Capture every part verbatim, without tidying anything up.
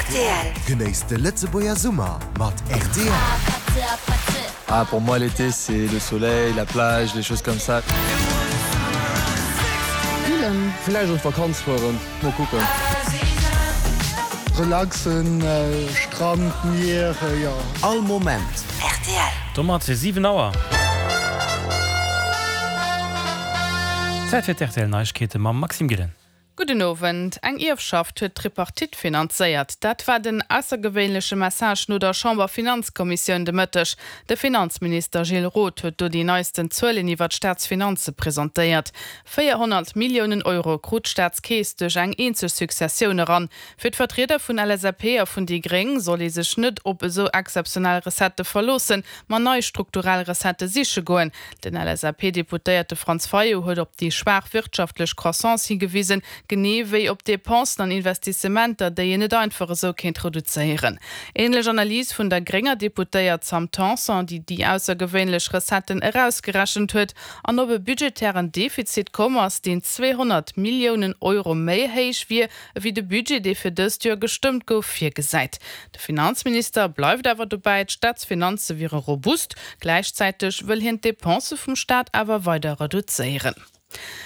R T L. Genéisst de Lëtzebuerger Summer mat R T L. Ah, pour moi, l'été, c'est le soleil, la plage, les choses comme ça. Grillen. Vläicht an d'Vakanz fueren, mol kucken. Relaxen, Strand, Mier, jo. All Moment. R T L. Domat siwen Auer. Zäit fir d'R T L Neiegkeete mam Maxime Gillen. Gudden Owend. Eng Ierfschaft huet d'Tripartite finanzéiert. Dat war den aussergewéinleche Message no der Chamberfinanzkommissioun de Mëtteg. De Finanzminister Gilles Roth huet do déi neisten Zuelen iwwer d'Staatsfinanze presentéiert. véierhonnert Milliounen Euro krut d'Staatskeess duerch eng eenzeg Successioun eran. Fir d'Vertrieder vun L S A P a vun déi Gréng soll ee sech net op esou exzeptionell Recettë verloossen, ma nei strukturell Recettë siche goen. Den L S A P-Deputéierte Franz Fayot huet op déi schwaach wirtschaftlech Croissance higewisen, genee wéi op Depensen an Investissementer, déi een net einfach esou kéint reduzéieren. Änlech Analys vun der grénger Deputéiert Sam Tanson, déi déi aussergewéinlech Recetten erausgerechent huet an op e budgetären Defizit komm ass, deen zweehonnert Milliounen Euro méi héich wier ewéi de Budget, dee fir dëst Joer gestëmmt gouf, virgesäit. De Finanzminister bleift awer dobäi, d'Staatsfinanze wiere robust, gläichzäiteg wëll hien d'Depensë vum Staat awer weider reduzéieren.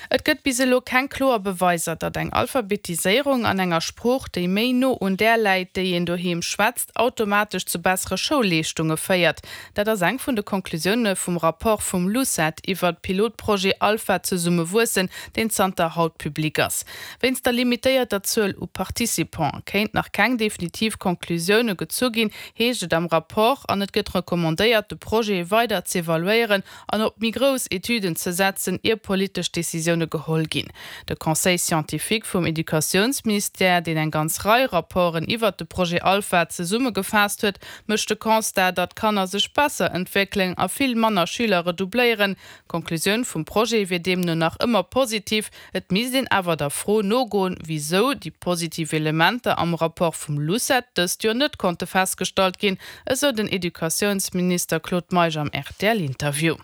Et gëtt bis elo keng kloer Beweiser, datt eng Alphabetiséierung an enger Sprooch, déi méi no un där läit, déi een doheem schwätzt, automatesch zu bessere Schoulleeschtunge féiert. Dat ass eng vun de Konklusioune vum Rapport vum LUCET iwwer Pilotprojet Alpha Zesumme wuessen, deen zanter haut public ass. Wéinst der limitéierter Zuel u Participante kéint nach keng definitiv Konklusioune gezu ginn, heescht et am Rapport, an et gëtt recommandéiert, de Projet weider z'evaluéieren an op méi grouss Etüden ze setzen, ier politesch Decisioune geholl ginn. De Conseil scientifique vum Educatiounsministère, deen eng ganz Rei Rapporten iwwer de Projet Alpha zesummegefaasst huet, mécht de Constat, datt d'Kanner sech besser entwéckelen a vill manner Schüler redoubléieren. D'Konklusioun vum Projet wier deemno nach ëmmer positiv, et misst een awer der Fro nogoen, wisou déi positiv Elementer am Rapport vum LUCET dëst Joer net konnte festgestallt ginn, esou den Educatiounsminister Claude Meisch am R T L-Interview.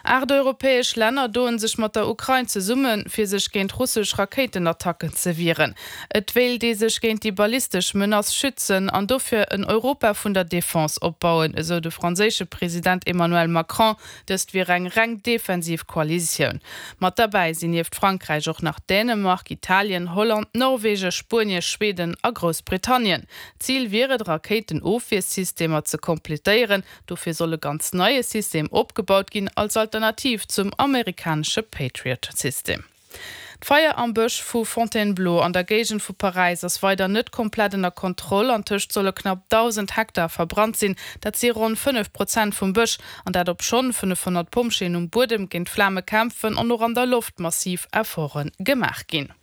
Aacht europäesch Länner doen sech mat der Ukrain zesummen, fir sech géint russesch Rakéitenattacken ze wieren. Et wéilt ee sech géint déi ballistesch Menace schützen an dofir en Europa vun der Defense opbauen, esou de franséische President Emmanuel Macron. Dëst wier eng reng defensiv Koalitioun. Mat derbäi sinn nieft Frankräich och nach Dänemark, Italien, Holland, Norwegen, Spuenien, Schweden a Groussbritannien. Zil wier et, Rakéitenofwiersystemer ze komplettéieren. Dofir soll e ganz neie System opgebaut ginn als Alternativ zum amerikanesche Patriot-System. D'Feier am Bësch vu Fontainebleau an der Géigend vu Paräis ass weider net komplett ënner Kontroll. Antëscht solle knapp dausend Hektar verbrannt sinn, dat si ronn fënnef Prozent vum Bësch, an dat obschonn fënnefhonnert Pompjeeën um Buedem géint d'Flame kämpfen an och an der Loft massiv Efforte gemaach ginn.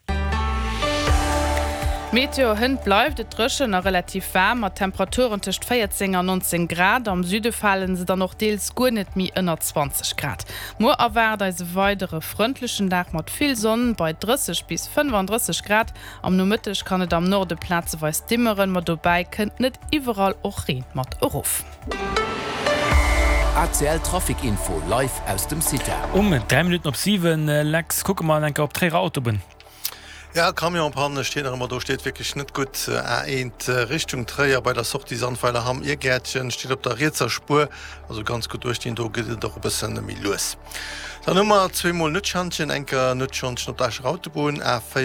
Meteo, Hënt bleift et dréchen a relativ waarm mat Temperaturen tëscht véierzéng an nonzéng Grad. Am Süde fale se dann och deels guer net méi ënner zwanzeg Grad. Muer erwaart eis e weidere frëndlechen Dag mat vill Sonn bei drësseg bis fënnefandrësseg Grad. Am Nomëtteg kann et am Norde plazeweis dimmeren, ma dobäi kënnt net iwwerall och Reen mat erof. A C L Trafic Info live aus dem CITA. Um dräi Minutten op siwen, Lex, kucke mer eng Kéier op d'Tréierer Autobunn. Ja, Camionspanne steet nach ëmmer do, steet wierklech net gutt. A eent Richtung Tréier bei der Sortie Sandweiler Hamm Irgäertchen steet op der rietser Spuer, also ganz gutt uecht, do geet et och e bëssen méi lues. Dann hu mer zweemol Nuetschantjen, eng Kéier Nuetschantjen op der Escher Autobunn A véier.